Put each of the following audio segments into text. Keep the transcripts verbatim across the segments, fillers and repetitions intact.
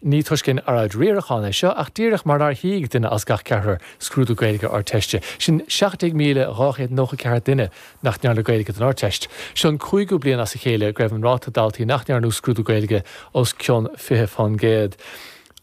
Ní toisc aon earráid riaracháin é seo ach díreach mar nár shuigh duine as gach ceathrar scrúdú Gaeilge Ardteiste. Sin seacht déag míle dhá chéad nócha ceathair duine nach ndearna Gaeilge don Ardteist. Seo an cúigiú bliain as a chéile go raibh an ráta daltaí nach ndearna scrúdú Gaeilge os cionn fiche faoin gcéad.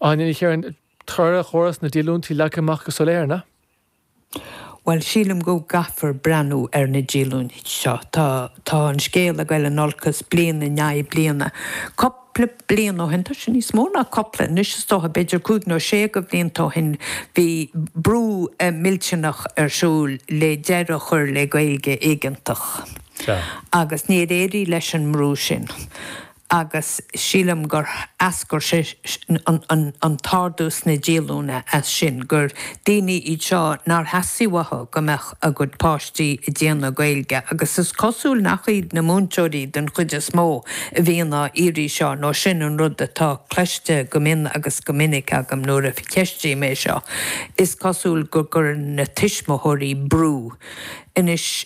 Áine Ní Chiaráin, toradh chóras na díolúintí leagtha amach go soiléir, na? Bhuel sílim go gcaithfear breathnú ar na díolúintí seo. Tá tá an scéal ag dul in olcas bliain i ndiaidh bliana. Cúpla bliain ó shin tá sé níos mó ná cúpla anois is dócha b'fhéidir cúig nó sé de bhlianta ó shin bhí brú millteanach ar siúl le deireadh a chur le Gaeilge éigeantach. Agus níor éirigh leis an mbrú sin. agus sílim gur eascair sé an t-ardú sna díolúine as sin, gur daoine iad seo nár theastaigh uathu go mbeadh a gcuid páistí ag déanamh Gaeilge agus is cosúil nach iad na múinteoirí den chuid is mó a bhíonn á iarraidh seo nó sin an rud atá cloiste go mion agus go minic agam nuair a cheistím é seo. Is cosúil go gcuireann na tuismitheoirí brú. Anois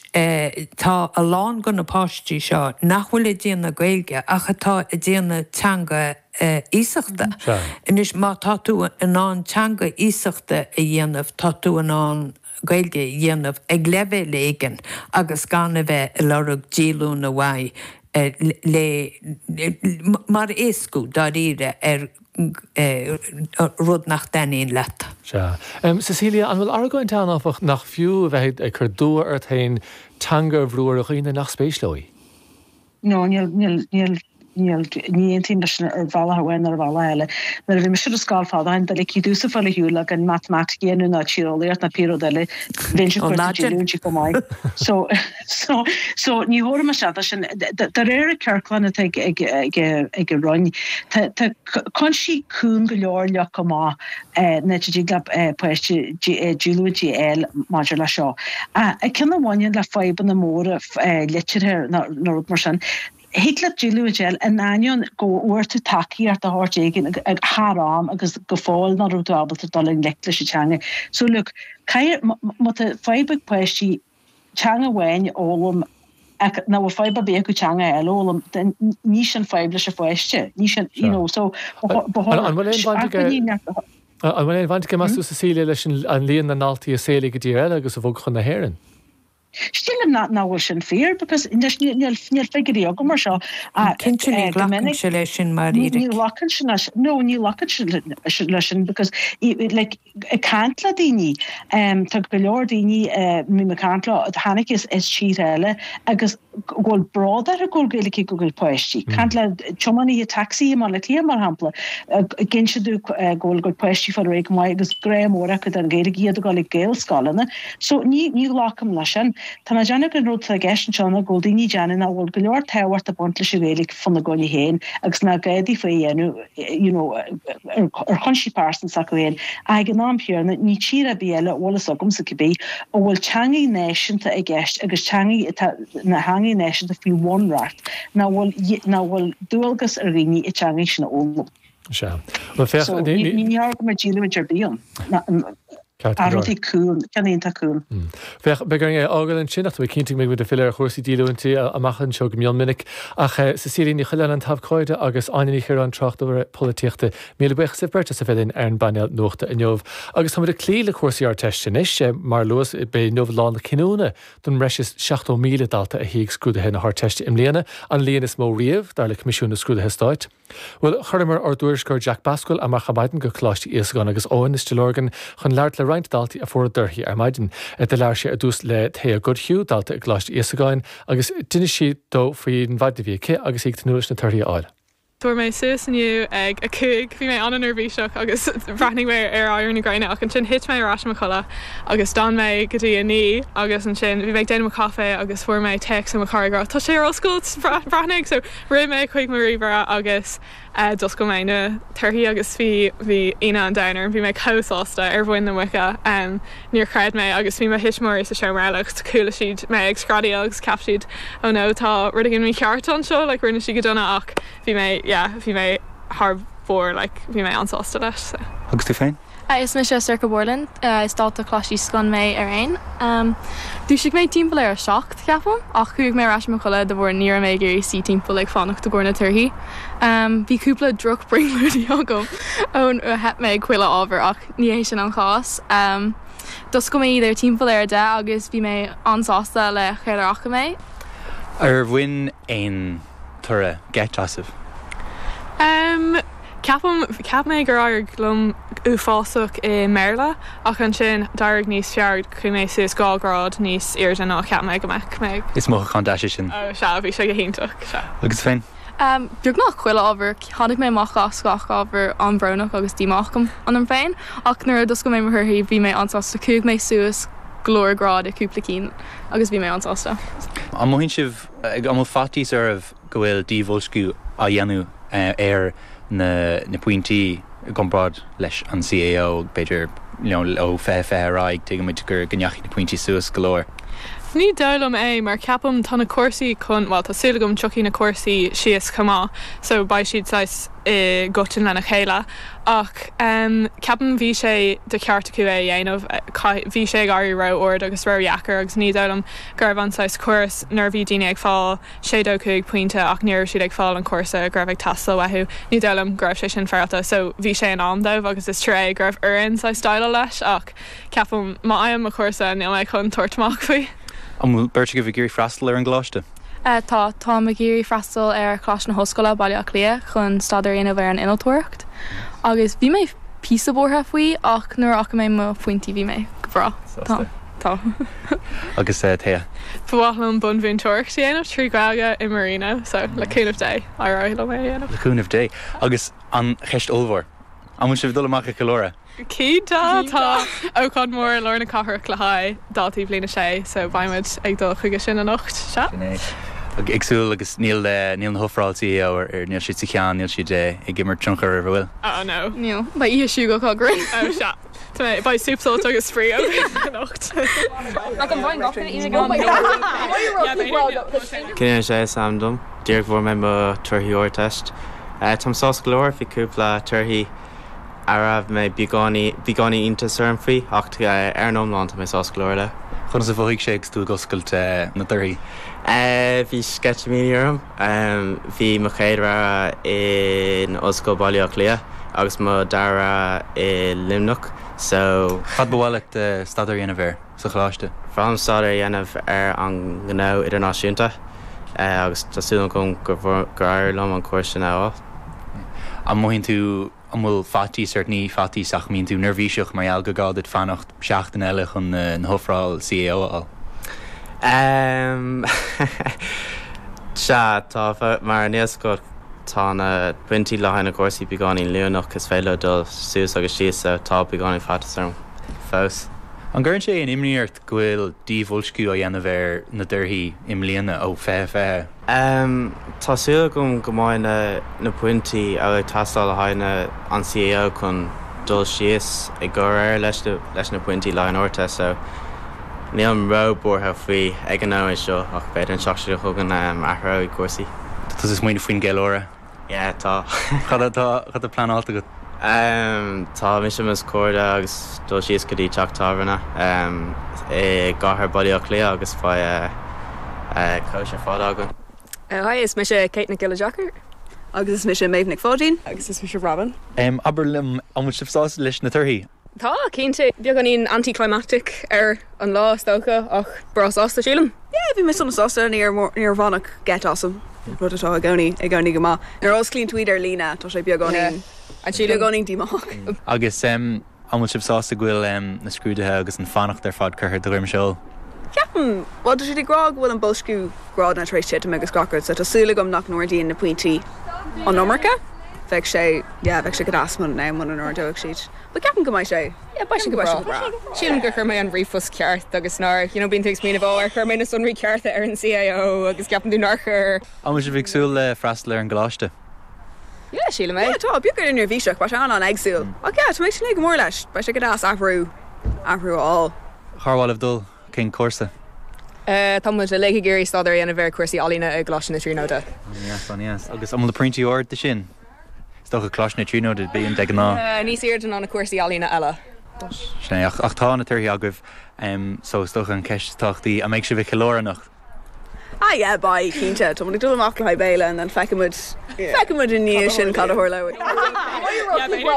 tá a lán de na páistí seo nach bhfuil ag déanamh Gaeilge ach atá ag déanamh teanga iasachta. Anois má tá tú in ann teanga iasachta a dhéanamh tá tú in ann Gaeilge a dhéanamh ag leibhéal éigin agus gan a bheith ag lorg díolúine uaidh le mar éascú dáiríre ar rud nach dtaitníonn leat. Sea. Cecilia, an bhfuil argóint ann áfach nach fiú a bheith ag cur dua ort féin teanga a bhrú ar dhaoine nach spéis leo í? No, níl, níl, níl, níl, ní aontaím leis sin ar bhealach amháin nó ar bhealach eile. Nuair a bhí mise ar scoil fad ó shin, dá ligfí domhsa fáil ar shiúl gan matamaitic a dhéanamh ná tíreolaíocht ná pé rud eile, bheinnse ag cur díolúintí chomh maith. So, so, so ní thabharfaidh mise é sin. De réir an ciorclán atá ag, ag, ag, ag an Roinn, tá, tá cúinsí cúng go leor leagtha amach nach dtig le páiste díolúintí a fháil maidir le seo. Ceann a bhaineann le fadhbanna móra liteartha nó rud mar sin, thig leat díolúint a fháil in ainneoin go bhfuair tú tacaíocht de shórt éigin thar am agus go fóill nach raibh tú ábalta dul i ngleic leis an teanga. So look, caithfidh, má tá fadhb ag páistí teanga amháin a fhoghlaim ach nach bhfuil fadhb ar bith acu teanga eile a fhoghlaim, then ní sin fadhb leis an pháiste. Ní sin, you know, so ba chóir An bhfuil aon bhaint aige An bhfuil aon bhaint aige meas tú Cecilia leis an líon na ndaltaí a saolaíodh i dtír eile agus a bhog chun na hÉireann? Sílim nach bhfuil sin fíor because níl níl figiúirí agam mar seo Cinnte ní ghlacann sé leis sin mar ní ghlacann sé leis no ní ghlacann sé leis sin because like ag caint le daoine tá go leor daoine mbím ag caint leo a tháinig as as tíortha eile agus go bhfuil bród orthu go bhfuil Gaeilge ag a gcuid páistí. Caint le tiománaithe tacsaí i mBaile Átha Cliath mar shampla ag inse domh go bhfuil a gcuid páistí fáil ar aghaidh go maith agus grá mór acu don Ghaeilge iad ag dul ag Gaelscoileanna. So ní ní ghlacaim leis sin. Tá mé ag déanamh gur an rud atá i gceist anseo ná go bhfuil daoine ag déanamh nach bhfuil go leor tábhacht ag baint leis an Ghaeilge faoina gcoinne féin agus nach gá daofa é a dhéanamh you know ar chúinsí pearsanta s'acu féin. Ach ag an am céanna ní tír ar bith eile a bhfuil fhios agamsa cibé a bhfuil teangaí náisiúnta i gceist agus teangaí atá na theangaí náisiúnta faoi bhunreacht nach bhfuil nach bhfuil dualgas ar dhaoine an teangaí sin a fhoghlaim. Sea. Bhuel féach, So ní, ní ní, ní go mbeadh díolúint ar bith ann. Ceart go A leor. rudaí cúng, ceann iontach cúng. Féach, beidh orainn é a fhágáil ansin ach tá mé cinnte go mbeidh muid ag filleadh ar chúrsaí díolúintí amach anseo go mion minic. Ach Cecilia Ní Choileáin an t-abhcóide agus Áine Ní Chiaráin tráchtaire polaitíochta. Míle buíochas libh beirt as a bheith linn ar an bpainéal nuachta inniu. Agus táimid ag cloí le cúrsaí Ardteiste anois, mar a luas b'é inniu lá na cinniúna don mbreis is seachtó míle dalta a shuigh scrúduithe na hArdteiste i mbliana, an líon is mó riamh, dar le Coimisiún na Scrúduithe Stáit. Bhuel, chuireamar ár dtuairisceoir Jack Basquill amach ar maidin go Coláiste Íosagáin agus Eoin i Stigh Lorgan chun labhairt le roinnt daltaí a fuair a dtorthaí ar maidin. Do labhair sé ar dtús le Thea Goodhue, dalta i gColáiste Íosagáin, agus d'inis sí dó faoin mhaidin a bhí aici agus í ag tnúth leis na torthaí a fháil. Fuair mé suas inniu ag a cúig, bhí mé an-neirbhíseach agus bhreathnaigh mé ar éirí na gréine ach ansin thit mé ar ais i mo chodladh agus d'fhan mé go dtí a naoi agus ansin bhí mé ag déanamh mo chaife agus fuair mé téacs ó mo chara ag rá tá sé ar oscailt breathnaigh so rith mé chuig mo ríomhaire agus uh, d'oscail mé na torthaí agus bhí bhí ionadh an domhain orm, bhí mé chomh sásta ar mhuin na muice um, níor chreid mé agus bhí mo thuismitheoirí sa seomra eile agus chuala siad mé ag screadaíl agus cheap siad ó no tá rud éigin mícheart anseo, like rinne sí go dona ach bhí mé yeah, bhí mé thar mhór like bhí mé an-sásta leis. So. Agus tú féin? Is mise Sorcha Borland, is dalta Choláiste Íosagáin mé ar aon. Um, Dhúisigh mé timpeall ar a seacht ceapaim, ach chuaigh mé ar ais mo chodladh de bharr ní raibh mé ag iarraidh suí timpeall ag fanacht i gcomhair na torthaí. Um, bhí cúpla drochbrionglóidí agam ón theip mé ag chuile ábhar ach ní hé sin an chás. Um, D'oscail mé iad ar timpeall ar a deich agus bhí mé an-sásta le céard a fhaca mé. Ar bhain aon toradh geit asaibh? Um, Ceapaim cheap mé gur éirigh liom uafásach i mBéarla ach ansin d'éirigh níos fearr chuaigh mé suas dhá ghrád níos airde ná cheap mé go mbeadh mé. Is mothúchán deas é sin. Ó sea, bhí sé go hiontach, sea. Agus féin? Um, beagnach chuile ábhar, tháinig mé amach as gach ábhar an-bhrónach agus díomách ionam féin, ach nuair a d'oscail mé mo thorthaí bhí mé an-sásta chuaigh mé suas go leor grád i cúpla cinn agus bhí mé an-sásta. An mothaíonn sibh an bhfuil faitíos oraibh go bhfuil díbhoilsciú á dhéanamh ar na na pointí i gcomparáid leis an CAO, b'fhéidir you know, ó fiche fiche ar aghaidh, tuigimid gur go ndeachaigh na pointí suas go leor. Ní dóigh liom é mar ceapaim tá na cúrsaí chun, bhuel tá súil agam tiocfaidh na cúrsaí síos chomh maith so beidh siad saghas i gcoiteann lena chéile ach um, ceapaim bhí sé de cheart acu é a dhéanamh, bhí sé ag éirí ró-ard agus ró-dheacair agus ní dóigh liom go raibh an saghas córas nuair a bhí daoine ag fáil sé dó cúig pointe ach ní raibh siad ag fáil an cúrsa go raibh ag teastáil uathu, ní dóigh liom go raibh sé sin féaráilte so bhí sé in am dóibh agus is trua go raibh orainn saghas déileáil leis ach ceapaim má fhaighim mo chúrsa níl mé chun tabhairt amach faoi. An bhfuil beirt agaibh ag iarraidh freastal ar an gcoláiste? Tá, táim ag iarraidh freastal ar Choláiste na hOllscoile, Baile Átha Cliath chun staidéar a dhéanamh ar an innealtóireacht agus bhí mé píosa buartha faoi ach nuair a fhaca mé mo phointí bhí mé go breá. Sásta. Tá. Agus Thea? Ba mhaith liom bunmhúinteoireacht a dhéanamh trí Ghaeilge i Marino so le cúnamh Dé éireoidh liom é a dhéanamh. Le cúnamh Dé. Agus an cheist ollmhór, an bhfuil sibh ag dul amach ag ceiliúradh? Cinnte, tá ócáid mór i lár na cathrach le haghaidh daltaí bliain a sé so beidh muid ag dul chuige sin anocht, sea. Sin é. Ag súil agus níl níl na hofráil CAO ar ar níl siad sa cheann, níl siad ag imirt tionchar oraibh, an bhfuil? Oh no. Níl. Beidh oíche shúgach againn. Oh sea. Tá mé, beidh súp sult agus spraoi againn anocht. Cillian Ó Sé is ainm dom. Díreach bhfuair mé mo torthaí Ardteist. Táim sásta go leor, bhí cúpla torthaí a raibh mé beagáinín iontas orm faoi ach ar an iomlán tá mé sásta go leor le. Conas a mhothaigh sé agus tú ag oscailt na dtorthaí? Bhí sceitimíní orm. Bhí mo chéad rogha in Ollscoil Bhaile Átha Cliath agus mo dara rogha i Luimneach so. Cad ba mhaith leat staidéar a dhéanamh air sa choláiste? Ba mhaith liom staidéar a dhéanamh ar an ngnó idirnáisiúnta agus tá súil agam gur éirigh liom an cúrsa sin a fháil. An mothaíonn tú An bhfuil faitíos ort, ní faitíos ach an mbíonn tú neirbhíseach mar gheall gur gá duit fanacht seachtain eile chun na hofráil CAO a fháil? Ehm sea, tá, mar níl a fhios agat, tá na pointí le haghaidh na cúrsaí beagáinín luaineach, is féidir leo dul suas agus síos so tá beagáinín faitíos orm fós. An gcuireann sé aon imní ort go bhfuil díbhoilsciú á dhéanamh ar na dtorthaí i mbliana ó fiche fiche? Tá súil agam go mbeidh na na pointí a bhfuil ag teastáil le haghaidh na an CAO chun dul síos i gcomhréir leis na leis na pointí le haghaidh an Ardteist so nílim ró-buartha faoi ag an nóiméad seo ach b'fhéidir an tseachtain seo chugainn athróidh cúrsaí. Tá tusa ag smaoineamh faoin gceiliúradh? Yeah, tá. Cad atá cad atá pleanáilte agat? Tá mise mo chairde agus dul síos go dtí teach tábhairne i gcathair Baile Átha Cliath agus beidh cóisir fada againn. Hi, is mise Kate Nic Giolla Deacair. Agus is mise Méabh Nic Pháidín. Agus is mise Robin. Abair liom, an bhfuil sibh sásta leis na torthaí? Tá, cinnte. Beagáinín anticlimactic ar an lá, is dócha, ach breá sásta, sílim. Yeah, bhí mé sona sásta, níor níor baineadh geit asam, rud atá i gcónaí i gcónaí go maith. Nuair a osclaíonn tú iad ar líne, tá sé beagáinín beagáinín díomách. Agus an bhfuil sibh sásta go bhfuil na scrúduithe agus an fanacht ar fad curtha de dhroim seoil? Ceapaim, bhuel tá siad ag rá go bhfuil an boilsciú grádanna tar éis titim agus gach rud so tá súil agam nach n-ardaíonn na pointí an iomarca. Bheadh sé, yeah, bheadh sé go deas muna muna n-ardódh siad. But ceapaim go mbeidh sé, Yeah, beidh sé go ceapaim go mbeidh sé breá. go breá. Sílim gur chuir mé an ríomhphost ceart agus nár, you know, bíonn tú ag smaoineamh, ó, ar chuir mé na sonraí cearta ar an CAO agus ceapann tú nár chuir. An bhfuil sibh ag súil le freastal ar an gcoláiste? Yeah, sílim é. Yeah, tá, beagán neirbhíseach, beidh sé an-an-éagsúil. Ach yeah, tá mé ag tnúth go mór leis. Beidh sé go deas athrú, athrú a fháil. Cár mhaith libh dul? Cén cúrsa? Tá muid uilig ag iarraidh staidéar a dhéanamh ar chúrsaí ealaíne i gColáiste na Tríonóide. An-dheas, an-dheas. Agus an bhfuil na pointí ard do sin? Is dócha Coláiste na Tríonóide bíonn de ghnáth. Níos airde ná na cúrsaí ealaíne eile. Sin é, ach tá na torthaí agaibh, so is dócha an cheist is tábhachtaí, an mbeidh sibh ag ceiliúradh anocht? Ah yeah, beidh, cinnte. Tá muid ag dul amach le haghaidh béile and then feicfidh muid, feicfidh muid i ndiaidh sin cad a tharlóidh.